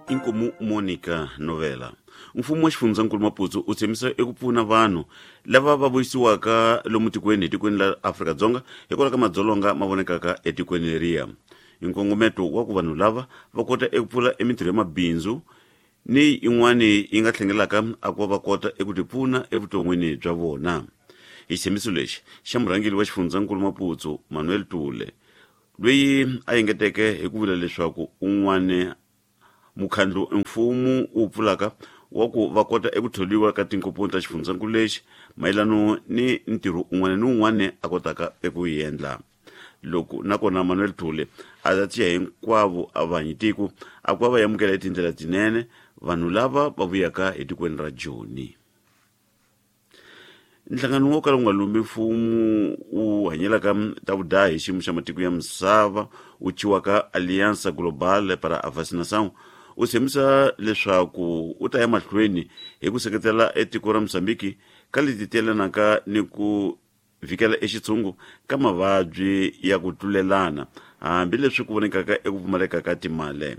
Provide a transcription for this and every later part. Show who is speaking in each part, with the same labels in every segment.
Speaker 1: Inkomu Monica Novela. Mfumo wa xifundzankulu Maputo u tshembisa eku pfuna vanhu lava va vuyisiwaka lomu tikweni hi tikweni la Afrika-Dzonga hikwalaho ka madzolonga ma vonekaka etikweni leriya. Hi nkongometo wa ku vanhu lava va kota eku pfula emintirho ya mabindzu ni yin'wani yi nga tlhengelaka a ku va va kota eku tipfuna evuton'wini bya vona. Hi xitshembiso lexi xa murhangeri wa xifundzankulu Maputo Manuel Tule loyi a engeteke hi ku vula leswaku un'wana mukhandlu mfumo wu pfulaka wa ku va kota eku tholiwa ka tinkomponi ta xifundzankulu lexi mayelano ni ntirho un'wana ni un'wana a kotaka eku yi endla. Loko nakona Manuel Thule a ta tiya hinkwavo a vanyi tiko a ku va va amukela hi tindlela tinene vanhu lava va vuyaka hi tikweni ra Joni. Nhlangano wo kala wu nga lumbi mfumo wu hanyelaka ta vudahi hi xiyimo xa matiko ya misava wu thyiwaka Aliança Global para a Vacinação u tshembisa leswaku u ta ya mahlweni hi ku seketela etiko ra Mozambique ka leti tiyelanaka ni ku vhikela exitshungu ka mavabyi ya ku tlulelana hambileswi ku vonekaka eku pfumaleka ka timali.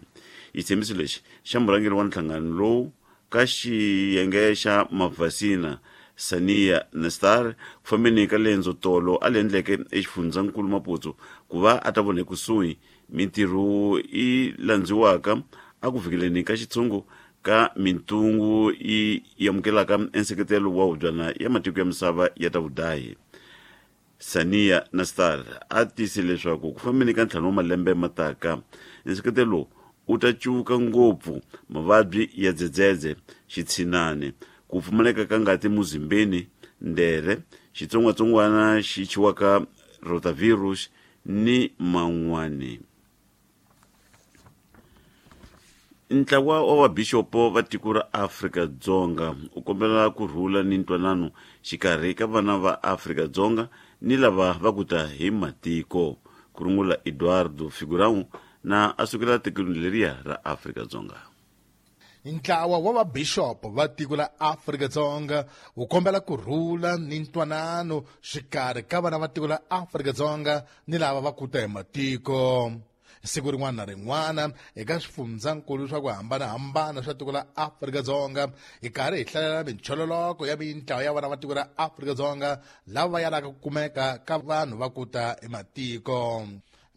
Speaker 1: Xitshembiso lexi xa murhangeri wa nhlangano lowu ka xiyenge xa mavhasina Sania Nestar ku fambeni ka lendzo tolo a li endleke exifundzankulu Maputo ku va a ta vona ekusuhi mintirho yi landziwaka a ku vhikeleni ka xitshungu ka mintungu yi amukelaka enseketelo wa hubyana ya matiko ya misava ya ta vudahi. Sania Nastar a tiyise leswaku ku fambeni ka ntlhanu wa malembe mataka, nseketelo lowu wu ta cuvuka ngopfu mavabyi ya dzedzedze, xitshinani, ku pfumaleka ka ngati muzimbeni, ndere, xitsongwatsongwana xi thyiwaka rotavirus ni man'wani. Ntlawa wa vabixopo va tiko ra Afrika-Dzonga u kombela ku rhula ni ntwanano xikarhi ka vana va Afrika-Dzonga ni lava va ku ta hi matiko, ku rungula Eduardo Figurão na a sukela tikweni leriya ra Afrika-Dzonga.
Speaker 2: Ntlawa wa vabixopo va tiko la Afrika-Dzonga wu kombela ku rhula ni ntwanano xikarhi ka vana va tiko la Afrika-Dzonga ni lava va ku ta hi matiko. Siku rin'wana na rin'wana eka swifundzankulu swa ku hambanahambana swa tiko la Afrika-Dzonga hi karhi hi hlalela minchololoko ya mintlawa ya vana va tiko ra Afrika-Dzonga lava va yalaka ku kumeka ka vanhu va ku ta hi matiko.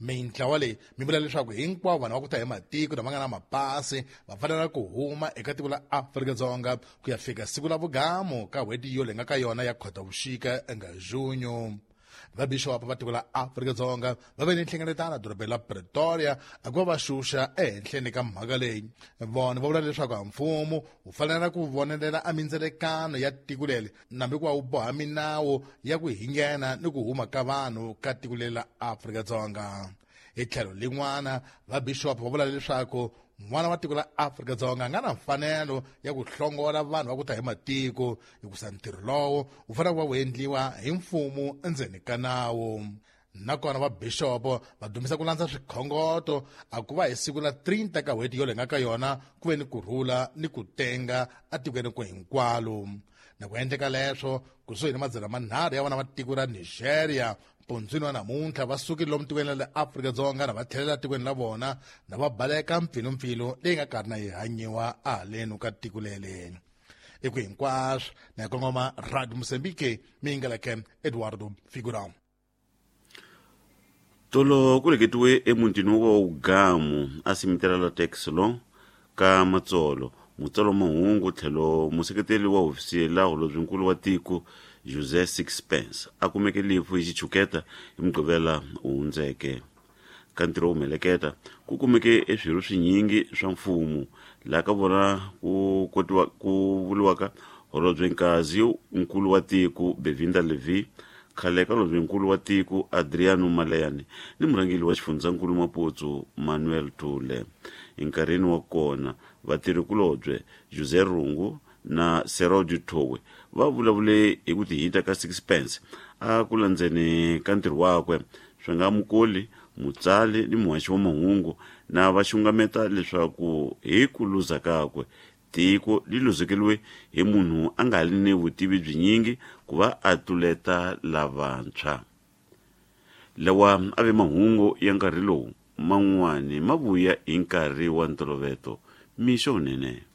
Speaker 2: Mintlawa leyi mi vula leswaku hinkwavo vanhu va ku ta hi matiko lama nga na mapasi va fanela ku huma eka tiko la Afrika-Dzonga ku ya fika siku la vugamu ka n'hweti yo leyi nga ka yona ya Khotavuxika nga Junyo. Vabixopo va tiko la Afrika-Dzonga va ve ni nhlengeletano edorobeni la Pretoria a ku va va xuxa ehenhleni ka mhaka leyi. Vona va vula leswaku a mfumo wu fanela ku vonelela a mindzelekano ya tiko leri nambi ku va wu boha minawu ya ku hingena ni ku huma ka vanhu ka tiko leri la Afrika-Dzonga. Hi tlhelo lin'wana, vabixopo va vula leswaku n'wana wa tiko la Afrika-Dzonga a nga na mfanelo ya ku hlongola vanhu va ku ta hi matiko, hikusa ntirho lowo wu fanele ku va wu endliwa hi mfumo endzeni ka nawu. Nakona vabixopo va dumisa ku landza swikhongoto a ku va hi siku la 30 ka n'hweti yoleyi nga ka yona ku ve ni ku rhula ni ku tenga atikweni ku hinkwalo. Na ku endleka leswo kusuhi ni madzana manharhu ya vana va tiko ra Nigeria mpundzwini wa namuntlha va sukile lomu tikweni la le Afrika-Dzonga na va tlhelela tikweni la vona na va baleka mpfilumpfilu leyi nga karhi na yi hanyiwa ahalenu ka tiko leli. I ku hinkwaswo na yi kongoma Radio Mozambique mi yingeleke Eduardo Figurão.
Speaker 1: Tolo ku leketiwe emutini wa Ugamu a simitela la Texlo ka Matsolo, mutsari wa mahungu tlhelo museketeli wa hofisi la holobyenkulu wa tiko José Sixpence a kumeke lifu hi xichuketa hi Mugqivela wu hundzeke. Ka ntirho wo mheleketa ku kumeke eswirho swinyingi swa mfumo laha ka vona ku kotiwa ku vuriwaka holobyenkazi nkulu wa tiko Bevinda Levy, khale ka holobyenkulu wa tiko Adriano Maleiane ni murhangeri wa xifundzankulu Maputo Manuel Thule. Enkarhini wa kona vatirhi-kulobye José Rungu na Serôdio Thowe va vulavule hi ku tihita ka Sixpence a ku landzeni ka ntirho wakwe swi nga mukoli, mutsali ni muhaxi wa mahungu na va xungameta leswaku hi ku luza kakwe tiko li luzekeriwe hi munhu a nga li ni vutivi byinyingi ku va a tluleta lavantshwa. Lawa a ve mahungu ya nkarhi lowu man'wani ma vuya hi nkarhi wa ntoloveto. Mixo wunene.